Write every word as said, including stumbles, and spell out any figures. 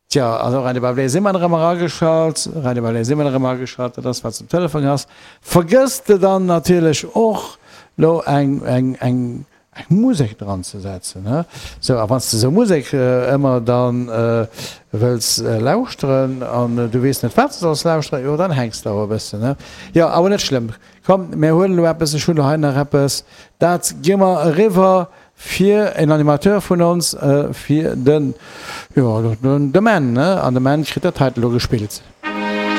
Tja, also Radio Bablé si mer erëm erageschalt. Radio Bablé si mer erëm erageschalt, dat ass wat s de um Telefon has. Vergëss de dann natierlech och lo eng, eng, eng, eng Musek dran ze setzen, he? Sou, a wann s de sou Musek ëmmer dann wëlls lauschteren an du weess net wat s de solls lauschteren, jo dann hänks de awer e bëssen, he? Jo, awer net schlëmm. Komm, mir huelen elo eppes, ech hunn elo hei nach eppes, dat gi mer eriwwer fir en Animateur vun ons, fir den, jo, de Menn, ne? An de Menn kritt dat heiten elo gespillt.